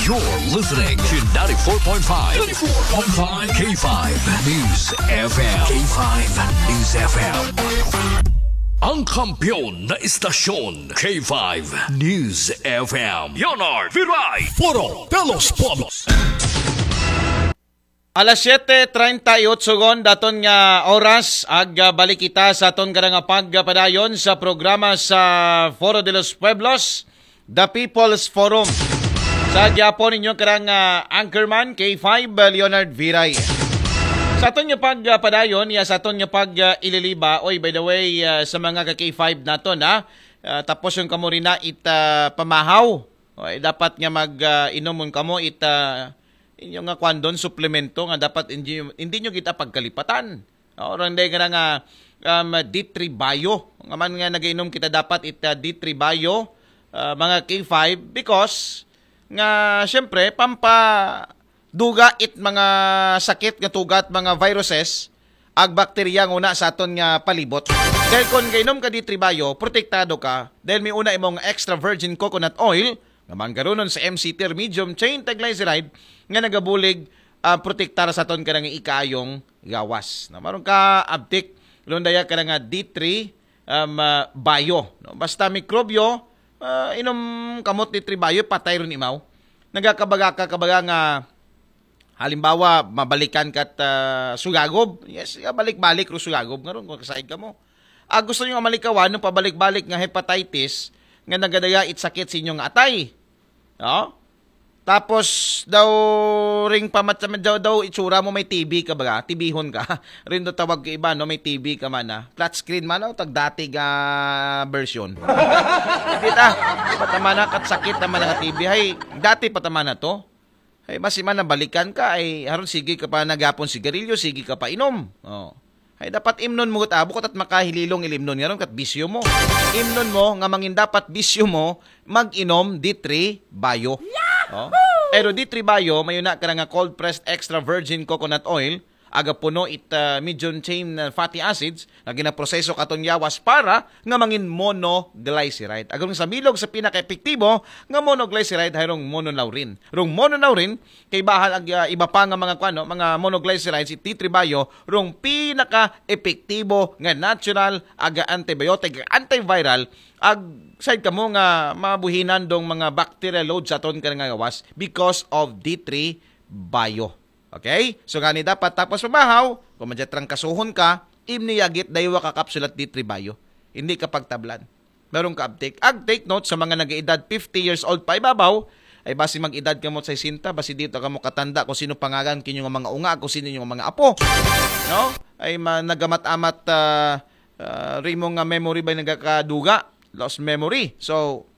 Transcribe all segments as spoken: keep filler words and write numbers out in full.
You're listening to ninety-four point five, ninety-four point five K five News F M. K five News F M. Ang kampiyon na istasyon, K five News F M. Leonard Viray. Foro de los Pueblos. Alas siyete treinta y ocho gon daton nga oras, ag ah, balik kita sa aton kada nga pagpadayon sa programa sa Foro de los Pueblos, The People's Forum. Sa gyapon ninyo karang ah, anchorman K five, ah, Leonard Viray. Sa aton nga pagpadayon, ya sa aton nga pag ah, ililiba, oy, by the way, ah, sa mga ka K five naton, ha, ah, tapos yung kamo rin na it ah, pamahaw. Oy, dapat nga mag ah, inomon kamo it ah, inyo nga kwandon suplemento nga dapat hindi, hindi nyo kita pagkalipatan. Orang day nga nga um, D three Bio. Nga man nga nagainom kita dapat it ah, D three Bio, ah, mga K five, because nga syempre pampa duga it mga sakit nga tugat, mga viruses, ag bakterya nga una sa aton nga palibot. Dahil kung gainom ka D three Bio, protektado ka dahil may una imong extra virgin coconut oil nga manggarunon sa M C T or medium chain triglyceride nga nagabulig ah, protektar sa aton kanang ikaayong gawas. Na maron ka abtik, lundaya ka nga D three um, ah, Bio. No? Basta mikrobyo, ah, inom kamot D three Bio, patay ron imaw. Nagakabaga ka kabaga nga halimbawa mabalikan ka at ah, sugagob. Yes, balik-balik ro sugagob ngaron kung kasaig ka mo. Ah, gusto nyo nga malikawan nung pabalik-balik nga hepatitis nga nagadaga it sakit sa inyong atay. No? Tapos daw ring pamat daw, daw itsura mo may T B ka ba? Tibihon ka. Rin do tawag ko iba, no? May T B ka man, ah. Flat screen man, oh, tag dati nga version. Hindi ta. Patamana kat sakit naman nga T B. Hay, dati patamana to. Ay, basi man nabalikan ka, ay haron sige ka pa nagyapon sigarilyo, sige ka pa inom. Oh. Ay, dapat imnon mo kat abo kat makahililong ilimnon nga ron kat bisyo mo. Imnon mo nga mangin dapat bisyo mo, mag-inom D three Bio. Oh. Pero D three Bio, may una ka nga cold pressed extra virgin coconut oil, aga puno it ah, medium chain ah, fatty acids nga ginaproseso katon yawas para nga mangin monoglyceride. Agon sa bilog sa pinaka-epektibo nga monoglyceride hay rong monolaurin. Rong monolaurin kay bahal ag ah, iba pa nga mga kuan, no, mga monoglycerides, it D three Bio rong pinaka-epektibo nga natural aga antibiotic, antiviral, ag side kamo nga mabuhinan dong mga bacterial load sa aton ka nga gawas because of D three Bio. Okay? So gani dapat tapos pamahaw, kung madya trangkasuhon ka, imniyagit daywa ka kapsulat D three Bio. Hindi ka pagtablan. Meron ka abtik. Ag take note sa mga nag-edad fifty years old pa ibabaw, ay basi mag-edad kamo sa sesenta, basi dito kamo katanda kung sino pangalan kinyo nga mga unga, kung sino yung mga apo. No? Ay ma- nagamat-amat ah, ah, rimo nga memory ba nagakaduga, lost memory. So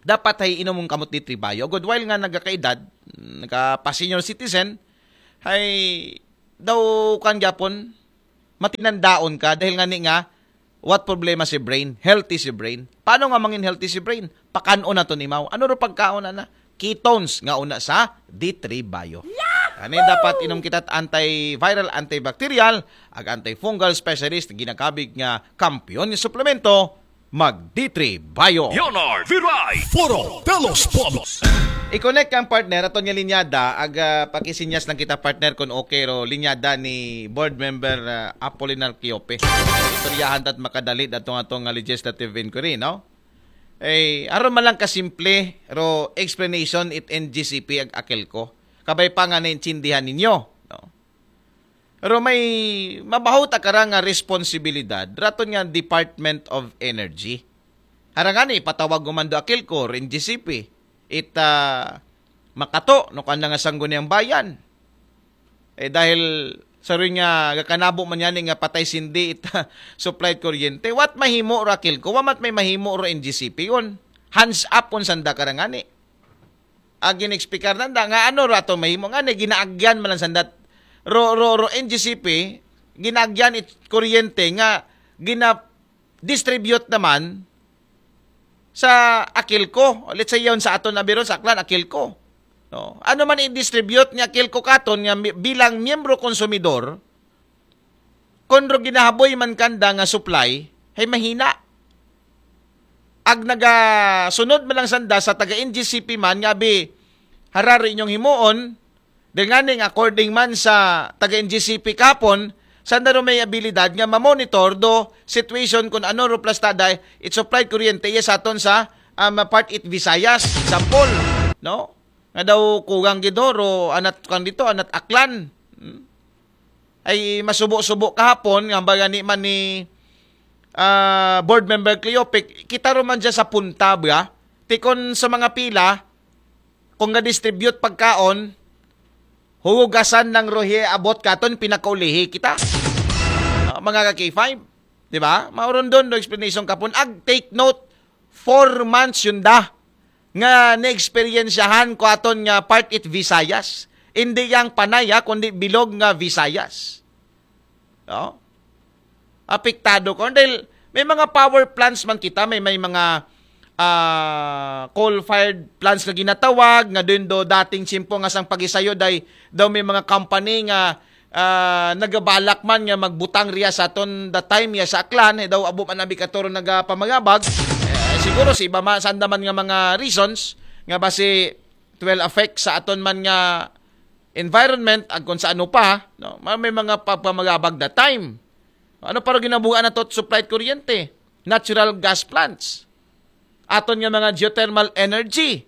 dapat hay inom mong kamot D three Bio. Good while nga nagakaedad, nagapa-senior citizen, hay daw kan gyapon matinandaon ka dahil nga ni nga what problema si brain, healthy si brain. Paano nga mangin healthy si brain? Pakanon na to nimaw. Ano ro pagkaon na? Ketones nga una sa D three Bio. Ani dapat inom kita antiviral, antibacterial, ag antifungal specialist ginakabig nga kampiyon nga suplemento, mag D three Bio. Leonard Viray. Foro de los Pueblos. I-connect ang partner aton nga linyada, ag ah, pakisinyas lang kita partner kung okay ro linyada ni board member ah, Apolinar Quiope. Istoryahan tat makadali datong atong nga legislative inquiry, no? Eh, aron man lang kasimple ro explanation it N G C P ag Akelco. Kabay pa nga naintindihan ninyo, no? Pero may mabaho ta kara nga responsibilidad raton nga Department of Energy. Harangani ipatawag ko man do Akelco, N G C P, it ah, makato no kanda nga sangguniang bayan. Eh dahil sa rin nga gakanabo man yani nga patay sindi it ah, supply kuryente. What mahimo ro Akelco? Wa mat may mahimo ro N G C P yun. Hands up on sanda karangani. Ag gin-explicar nanda nga ano rato mahimo nga ni ginaagyan man lang sandat ro ro ro N G C P ginaagyan it kuryente nga gina-distribute naman sa Akelco. Let's say yon sa aton na biron sa Aklan Akelco. No? Ano man i-distribute ni Akelco katon nga mi- bilang miyembro konsumidor kung ro ginahaboy man kanda nga supply hay mahina. Ag nagasunod man lang sanda sa taga N G C P man nga abi Hararo inyong himuon, dahil nga ning according man sa taga N G C P kahapon, sanda ro may abilidad nga mamonitor do situation kung ano ro plastada it supply kuryente iya sa aton sa um, part it Visayas, example, no? Nga daw kugang gid ho, ro anat kan dito, anat Aklan. Hmm? Ay masubo-subo kahapon, nga baga ni man ni ah, board member Cleopic, kita ro man dyan sa punta, ba? Tikon sa mga pila, kung ga-distribute pagkaon, huhugasan ng rohe abot katon pinakaulihi kita. Ah, mga ka K five, di ba? Mauron doon do explanation kapon. Ag take note, four months yun da nga na-experiensyahan ko aton nga part it Visayas. Hindi yang panaya, kundi bilog nga Visayas. No? Apektado ko. Dahil may mga power plants man kita, may, may mga ah, coal-fired plants nga ginatawag, nga doon do dating tiyempo nga sang pagisayo, day daw may mga company nga ah, nagabalak man nga magbutang riya sa aton the time ya sa Aklan, eh, daw abo man abi katuro nagapamagabag. Eh, siguro si iba man, sanda man nga mga reasons, nga basi it will affect sa aton man nga environment, agkon sa ano pa, no? Ma-, may mga pagpamagabag the time. Ano pa ro ginabugaan na to supply kuryente? Natural gas plants. Aton nga mga geothermal energy.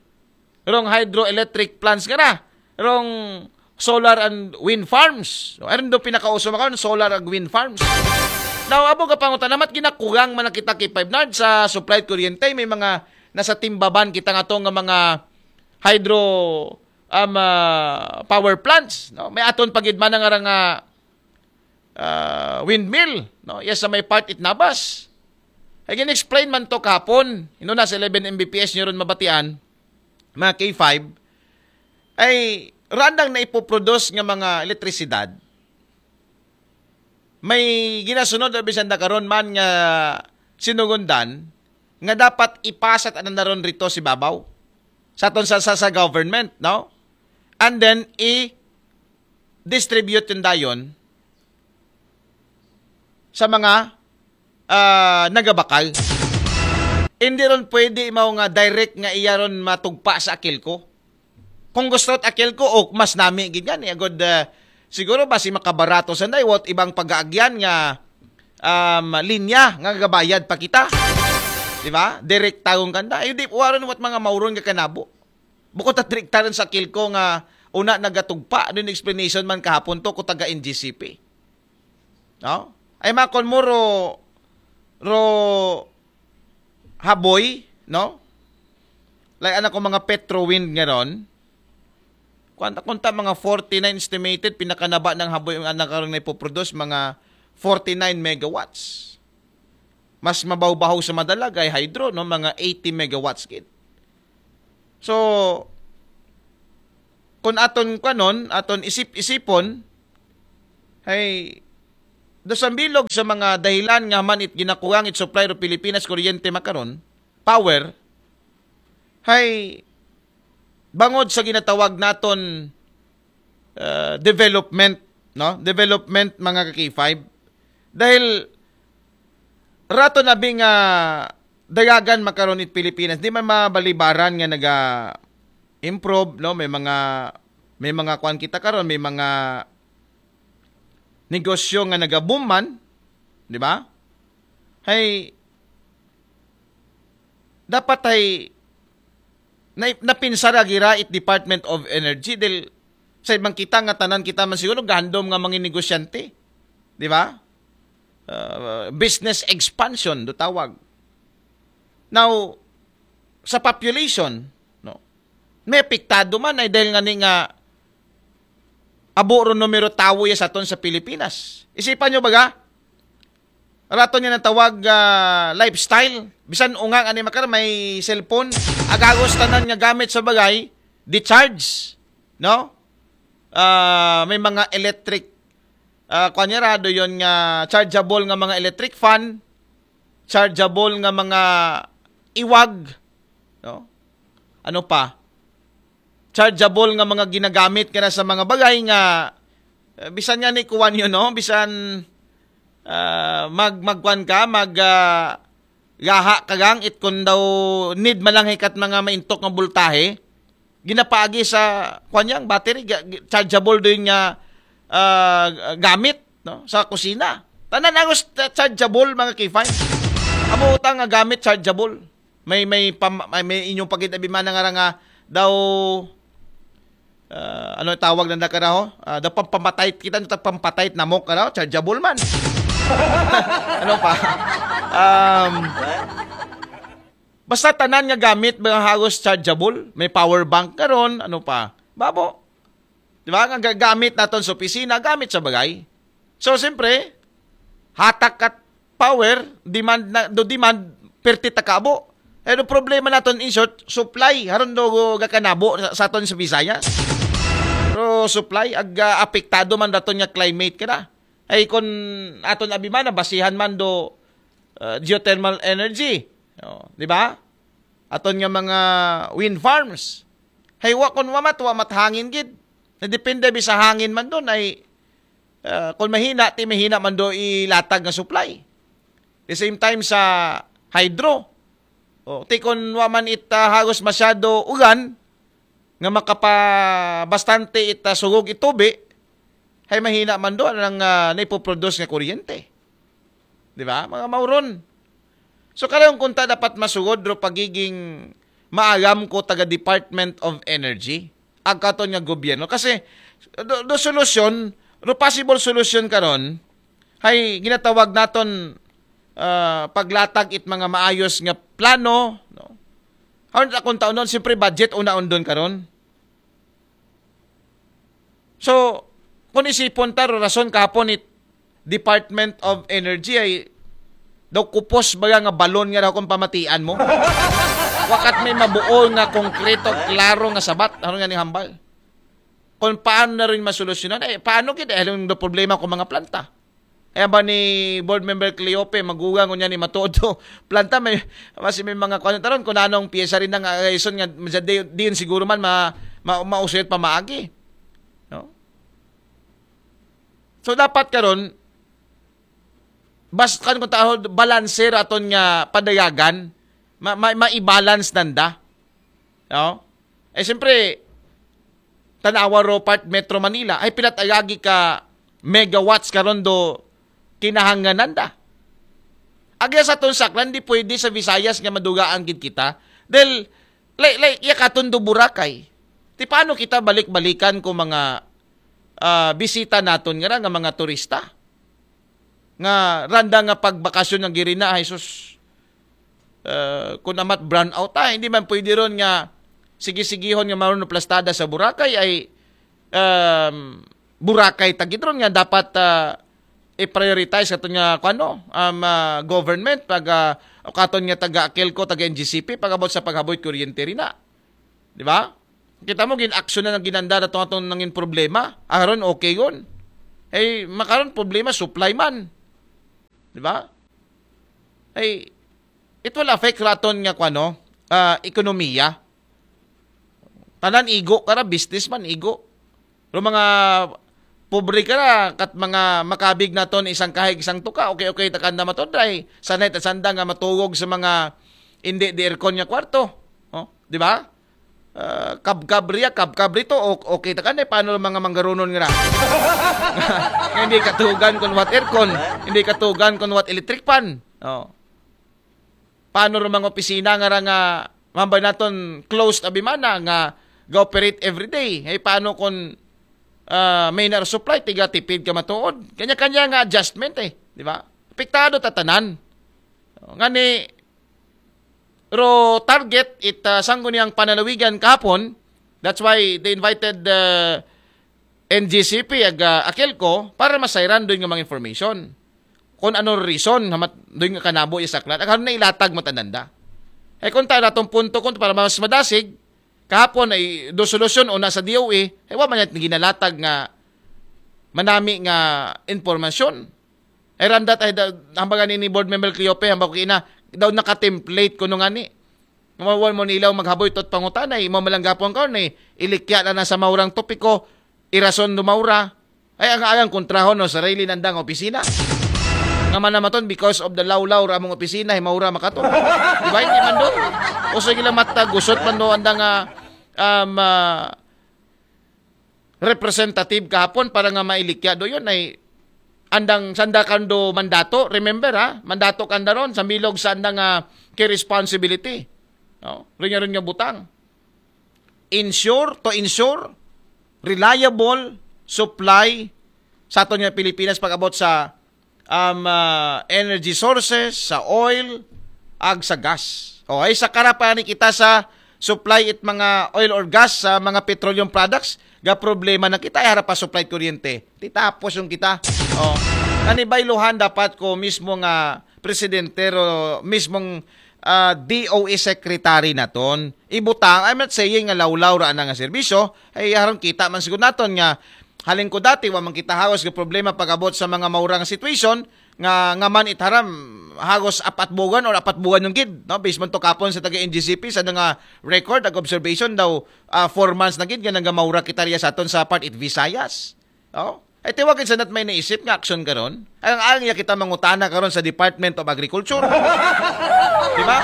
Rong hydroelectric plants nga na. Rong solar and wind farms. So, aron do pinakauso makaon, solar and wind farms. Now, abo ka pangutan, namat ginakugang man na kita kay Five Nard sa supply kuryente. May mga nasa timbaban kita nga to nga mga hydro um, ah, power plants. No? May aton pagid man nga nga ah, windmill. No? Yes, sa may part it Nabas. Ay gin-explain man to kahapon. Ino na sa eleven M B P S nyo ron mabatian, mga K five, ay randang na ipoproduce nga mga elektrisidad. May ginasunod o bisan da karon man nga sinugundan nga dapat ipasat anan na ron rito si babaw sa aton sa, sa, sa government, no? And then i-distribute yung dayon sa mga ah, nagabakal. Hindi ron pwede mao nga direct nga iya ron matugpa sa Akilco. Kung gusto at Akilco, o mas nami gid yan. Eh, agod, ah, siguro ba si makabarato sa what ibang pag-aagyan nga um, linya nga gabayad pa kita. Di ba? Direct tawon kanda. Ay, di, waron what mga mauron nga kanabo. Bukod at direktaran sa Akilco nga una nagatugpa, ano yung explanation man kahapon to ko taga N G C P. No? Ay makon mo ro, ro haboy, no? Like anak ko mga Petro Wind nga ron. Kunta, kunta mga forty-nine estimated, pinakanaba ng haboy ang anak karong na ipoproduce, mga forty-nine megawatts. Mas mabaw-bahaw sa madalag ay hydro, no? Mga eighty megawatts gid. So, kung aton kanon, aton isip-isipon, ay do sa bilog sa mga dahilan nga man it ginakuwang it supply ro Pilipinas kuryente makaron, power, hay bangod sa ginatawag naton uh, development, no? Development, mga ka-K five. Dahil rato na bi nga dayagan makaron it Pilipinas, di man mabalibaran nga naga-improve, no? May mga, may mga kuan kita karon, may mga negosyo nga nagaboom man, di ba? Hay dapat ay na, napinsara gira it Department of Energy dahil sa ibang kita nga tanan kita man siguro gahandom nga mga negosyante, di ba? Uh, business expansion do tawag. Now, sa population, no, may apektado man ay dahil nga ni nga abo ro numero tawo ya sa aton sa Pilipinas. Isipan nyo baga, raton nga natawag uh, lifestyle. Bisan ungang ani makar may cellphone, agagos tanan nga gamit sa bagay, decharge, no? Uh, may mga electric uh, kuan niya rado yon nga chargeable nga mga electric fan, chargeable nga mga iwag, no? Ano pa? Chargeable nga mga ginagamit kana sa mga bagay nga uh, bisan nga ni kuan yun, no? Bisan uh, mag magkuan ka, mag uh, gaha ka gang it kun daw need man lang hikat mga maintok nga bultahe, ginapaagi sa, kwan yang, battery, ga- ga- chargeable din nga ah, gamit, no, sa kusina. Tanan halos ta- chargeable, mga K five. Amo utang nga gamit chargeable. May may pam, may, may inyong pagit abi man nga ra nga daw ah, ano tawag na nakaraho? Ah, daw pampamatay kita, no, tag pampamatay na mo karaho, chargeable man. Ano pa? Um, basta tanan nga gamit, mga halos chargeable. May power bank karon, ano pa? Babo. Di ba? Nga ga- gamit naton sa opisina, gamit sa bagay. So, siyempre, hatak at power, demand na, do demand, perti takabo. Pero problema naton, in short, supply. Haron do gakanabo sa, sa aton sa Visayas. Pero supply, ag ah, apektado man daton nga climate kada. Ay, kung aton abi man, basihan man do ah, geothermal energy. Oh, di ba? Aton nga mga wind farms. Hay, wa, kung wa mat, wa mat hangin gid. Nadepende bi sa hangin man don ay ah, kung mahina, ti mahina man do ilatag nga supply. The same time sa hydro. O, ti kung wa man it ah, halos masyado ulan, nga makapa bastante it ah, sugog itubi, hay mahina man do ang ah, naipoproduce nga kuryente. Di ba? Mga mauron. So, karong kunta dapat masugod ro pagiging maalam ko taga Department of Energy, ag katon nga gobyerno. Kasi, do, do solusyon, do possible solusyon karon, hay ginatawag naton ah, paglatag it mga maayos nga plano, no? Aron akong taon nun, siyempre budget una undon karon. So, kung isipon ta, ro rason kahapon it Department of Energy ay daw kupos baga nga balon nga daw kung pamatian mo. Wakat may mabuo nga konkreto, klaro nga sabat. Ano nga ni hambal? Kung paano na rin masolusyonan, eh, paano kita? Eh, anong problema kung mga planta? Ayan ba ni Board Member Cleope, magugang ko niya ni Matodo. Planta, may, mas may mga kuwan taron, kung anong piyesa rin ng ayuson nga, di, di yun siguro man ma, ma, mausuyot pamaagi. No? So, dapat karon, bas, kan kung tao, balancer aton nga padayagan, ma, ma, ma-balance nanda. No? Eh, siyempre, tanawa ro part Metro Manila, ay pinatayagi ka megawatts karon do kinahanganan da. Agya sa aton saklan, di pwede sa Visayas nga madugaan gid kita. Dahil, like, like, iya katon do Boracay. Ti paano kita balik-balikan ko mga ah, bisita naton nga ra nga mga turista? Nga randa nga pagbakasyon nga girina, ay sus, ah, kung amat brownout, ah, hindi man pwede ron nga sige-sigihon nga maroon plastada sa Boracay ay, um, Boracay tagid ron nga dapat ah, i-prioritize ato nga kuano, um, ah, government pag ah, o katon nga taga Akelco, taga N G C P, pag-abot sa paghaboy kuryente rina. Di ba? Kita mo, gin-action na ng ginanda na itong atong nangin problema. Aron okay yun. Eh, makaron problema, supply man. Di ba? Eh, it will affect raton nga kuano, ah, ekonomiya. Tanan igo kara, business man igo. Pero mga pobre kara, kat mga makabig naton isang kahig, isang tuka, okay, okay, takanda matodray. Sanay ta sanda nga matugog sa mga hindi di aircon nga kwarto. Oh, di ba? Ah, kabkab riya, kabkab rito, o- okay, takanda, paano ang mga manggarunon nga na? Nga hindi katugan kung what aircon, hindi katugan kung what electric fan. Oh. Paano ro mga opisina nga ra nga mambay naton closed abimana nga ga-operate everyday? Ay paano kung ah, may na supply, tiga tipid ka matuod? Kanya-kanya nga adjustment eh, di ba? Apektado tatanan. Ngani, ro target it ah, sangguniang pananawigan kahapon. That's why they invited the N G C P ag ah, Akelco para masayran doon nga mga information. Kung ano reason, hamat doon nga kanabo yung saklat. Ang na ilatag mo tananda. Eh kung tayo natong punto kung para mas madasig, kahapon ay do solusyon o nasa D O E, eh wa man yan ginalatag nga manami nga impormasyon. Ay randat ay da, hambagan ni board member Cleope, hambag ko ina, daw naka-template kuno nga ni. Mawan mo nilaw maghaboy tot pangutanay, mamalanggapon ka ni, ilikya na na sa maurang topiko, irason do maura. Ay ang alang kontrahon no, sarili nandang opisina. Nga man namaton, because of the lawlaw ra among opisina, ay maura makaton. Di ba, hindi man doon? O sige lang matagusot man doon andang ah, um, ah, representative kahapon para nga mailikya do yun ay andang sanda kando mandato. Remember ha, mandato kanda ron sa milog sa andang ah, key responsibility. No? Rin nga, rin nga butang. Ensure, to ensure reliable supply sa aton nga Pilipinas pag-abot sa um, ah, energy sources, sa oil, ag sa gas. O, ay sa karapan ni kita sa supply it mga oil or gas sa mga petroleum products, ga problema na kita, ay harap pa supply kuryente. Titapos yung kita. O, kanibayluhan dapat ko mismo nga presidente o mismong ah, D O E secretary naton. Ibutang, I'm not saying nga lawlaw ra na nga serbisyo, ay haron kita man siguro naton nga halin ko dati, wa man kita hagos nga problema pag-abot sa mga maurang situation, nga, nga man itaram, hagos apat buwan or apat buwan yung gid, no? Based man to kapon sa taga N G C P, sa nga record, ag observation daw, ah, four months na gid, nga nagamaura kita riya sa aton sa part it Visayas. Oh? Ay tiwagin sa nat may naisip nga aksyon karon. Ang ang iya kita mangutana karon sa Department of Agriculture. Di ba?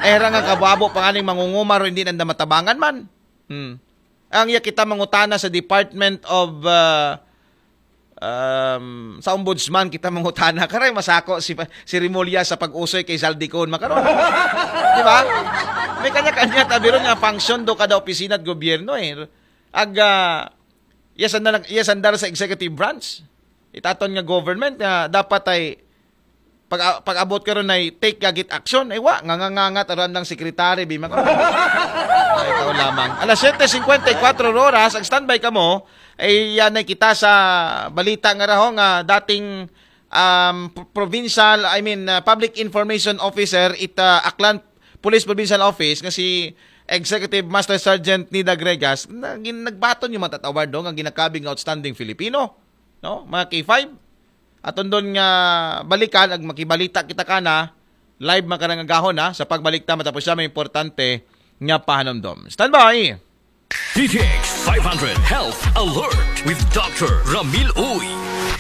Era nga kababo panganing mangungumar hindi nanda matabangan man. Hmm. Ang iya kita mangutana sa Department of uh, um, sa Ombudsman kita mangutana karay masako si si Remulla sa pag-usoy kay Zaldicon makaron. Di ba? May kanya-kanya tabiron nga function do kada opisina at gobyerno eh. Ag uh, yes andar, yes andar sa executive branch. Itaton nga government nga dapat ay pag pag-abot karon ay take gagit action ay wa nga ngangangat aron ang secretary bi maka ay ikaw lamang alas siyete singkwenta y kwatro oras ag standby kamo ay yan ay kita sa balita nga raho nga dating um, provincial I mean uh, public information officer it uh, Aklan Police Provincial Office nga si Executive Master Sergeant Nida Gregas na, gin, nagbaton yung matatawad do nga ginakabig nga outstanding Filipino no mga K five aton doon nga balikan ag makibalita kita kana live makarang agahon ha sa pagbalik ta matapos siya may importante nga pahanumdom. Standby! D T X five hundred Health Alert with Doctor Ramil Uy.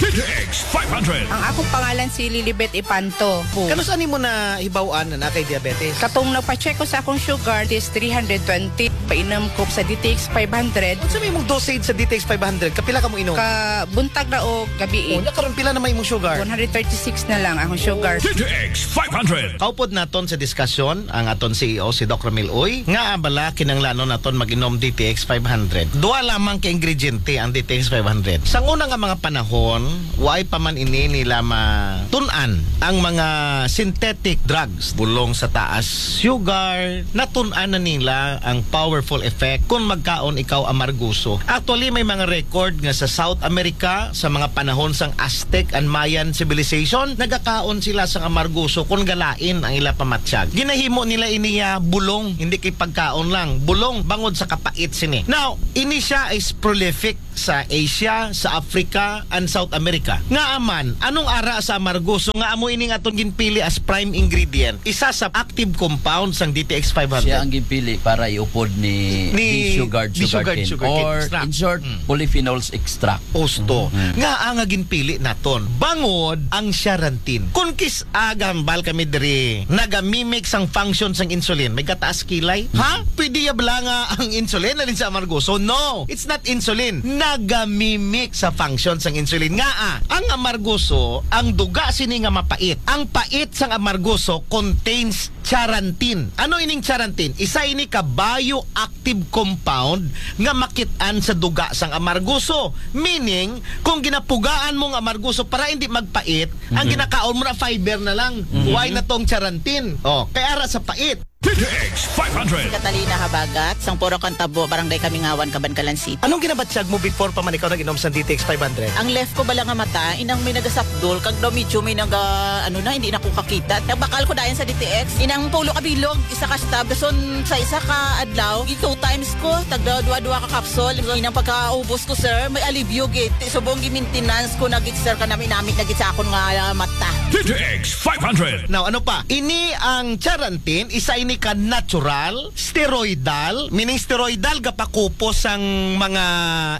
D T X five hundred. Ang akong pangalan si Lilibet Ipanto. Kanus-a nimo nahibaw-an na naa kay diabetes? Katong nagpa-check ko sa akong sugar is three hundred twenty. Painom ko sa D T X five hundred. Unsa may imong dosage sa D T X five hundred? Kapila ka mo inom? Ka buntag na o gabi. Unya karon pila na may imong sugar? One hundred thirty-six na lang akong sugar. D T X five hundred. Kaupod naton sa diskasyon ang aton C E O si Doc Ramil Uy. Nga abala kinanglanon naton mag-inom D T X five hundred. Duha lamang ka ingrediente ang D T X five hundred. Sa una nga mga panahon, waay pa man ini nila matun-an ang mga synthetic drugs. Bulong sa taas sugar, natun-an na nila ang powerful effect kung magkaon ikaw amarguso. Actually, may mga record nga sa South America, sa mga panahon sang Aztec and Mayan civilization, nagakaon sila sang amarguso kung galain ang ila pamatyag. Ginahimo nila iniya bulong, hindi kay pagkaon lang. Bulong bangod sa kapait sini. Now, ini siya is prolific sa Asia, sa Africa, and South America. Nga aman, anong ara sa amargoso nga amo ining atong ginpili as prime ingredient? Isa sa active compound sang D T X five hundred. Siya ang ginpili para iupod ni, ni Bishogard sugarcane. Or extract. In short, mm. Polyphenols extract. Osto. Mm. Nga ang ginpili naton. Bangod ang charantin. Kung kis-a gambal kami diri, nagamimik sang function sang insulin, may gataas kilay. Ha? Pwede ya bala nga ang insulin alin sa amargoso? No! It's not insulin. Nagamimik sa function sang insulin. Nga ah, ang amargoso, ang duga sini nga mapait. Ang pait sang amargoso contains charantin. Ano ining charantin? Isa ini ka bioactive compound nga makit-an sa duga sang amargoso. Meaning, kung ginapugaan mo ang amargoso para hindi magpait, ang mm-hmm. ginakaon mo na fiber na lang. Mm-hmm. Why na tong charantin? Oh, kay ara sa pait. D T X five hundred. Catalina Habagat, sang Puro Kantabo, Barangay Kamingawan, Kabankalan City. Anong ginabatyag mo before pa man ikaw nag-inom sa D T X five hundred? Ang left ko bala nga mata, inang may nagasakdol, kag daw medyo may naga, ano na, hindi na ko kakita. Nagbakal ko dayon sa D T X. Inang pulo ka bilog, isa ka stab. Dason sa isa ka adlaw, two times ko, tagda dua-dua ka capsule. Inang pagkaubos ko, sir, may alibyo gid. Subong gi-maintenance ko na gid, sir, kanami-nami na gid sa akon nga mata. D T X five hundred. Now, ano pa? Ini ang charantin, isa ini ka natural, steroidal, meaning steroidal gapakupos ang mga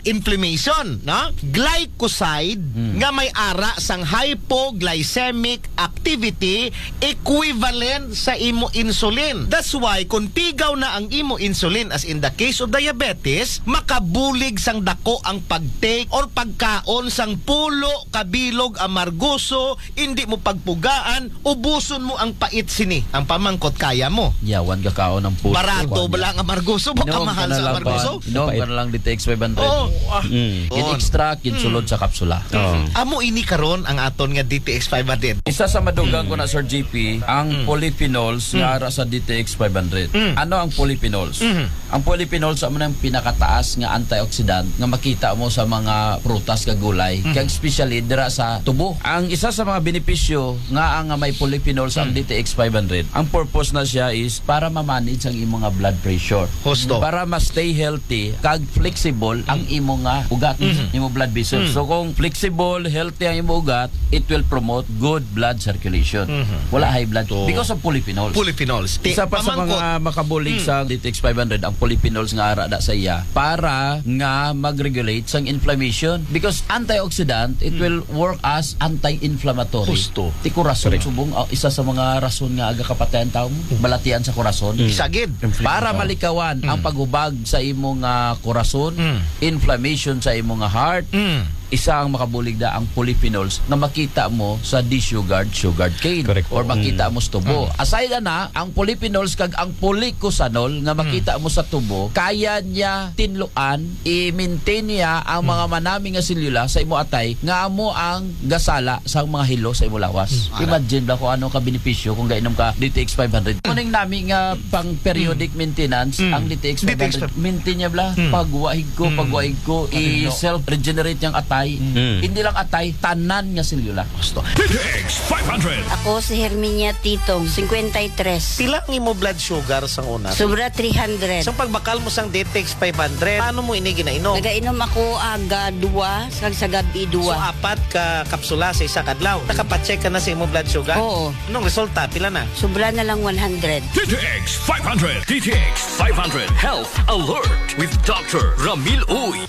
inflammation, no? Glycoside nga may ara sang hypoglycemic activity equivalent sa imo insulin. That's why kung pigaw na ang imo insulin, as in the case of diabetes, makabulig sang dako ang pag-take or pagkaon sang pulo kabilog amargoso, hindi mo pagpugaan, ubuson mo ang pait sini. Ang pamangkot, kaya mo. Yawan ka kaon ng puso. Barato ba lang amargoso? Baka mahal sa amargoso? Inom ka na lang D T X five hundred. Oo. Ah. Mm. Gin-extract, ginsulod sa kapsula. Amo ini karon ang aton nga D T X five hundred. Isa sa madugang ko na, Sir G P, ang polyphenols nga ara sa D T X five hundred. Ano ang polyphenols? Ang polyphenols amo na ang pinakataas nga antioxidant nga makita mo sa mga prutas kag gulay, kag especially dira sa tubo. Ang isa sa mga benepisyo nga ang may polyphenols ang D T X five hundred, ang purpose na siya is para ma-manage ang imong nga blood pressure. Husto. Para ma-stay healthy kag flexible ang imong nga ugat, imong blood vessels. So kung flexible, healthy ang imong ugat, it will promote good blood circulation. Wala high blood because of polyphenols. Polyphenols. Ti-, Isa pa sa pamangkot. mga makabulig sa D T X five hundred ang polyphenols nga ara da sa iya para nga mag-regulate sang inflammation because antioxidant, it will work as anti-inflammatory. Husto. Ti kurason subong, ah, isa sa mga rason nga aga kapatay ang tao mo, balatian sa kurason. Isa gid. Para malikawan ang paghubag sa imong ah, kurason, inflammation sa imong nga heart, isa ang makabulig da ang polyphenols nga makita mo sa desugared sugarcane Correct. Or makita mo sa tubo. Aside na, ang polyphenols kag ang policosanol nga makita mo sa tubo, kaya niya tinluan, i-maintain niya ang mga manami nga selula sa imo atay nga amo ang gasala sa mga hilo sa imo lawas. Imagine ba kung ano ka benepisyo kung gainom ka D T X five hundred. Kuning nami nga pang periodic maintenance ang D T X five hundred. Maintain niya bla. Pagwaig ko, pagwaig ko, i-self-regenerate niyang atay. Hindi lang atay, tanan nga selula. D T X five hundred. Ako si Herminia Titong, fifty-three. Pila ang imo blood sugar sang una? Sobra three hundred. Sang pagbakal mo sang D T X five hundred, paano mo ini ginainom? Nagainom ako aga dua, sa, sa gabi So, dua. apat ka kapsula sa isa ka adlaw. Nakapacheck ka na sa imo blood sugar? Oo. Anong resulta? Pila na? Sobra na lang one hundred. D T X five hundred. D T X five hundred Health Alert with Doctor Ramil Uy.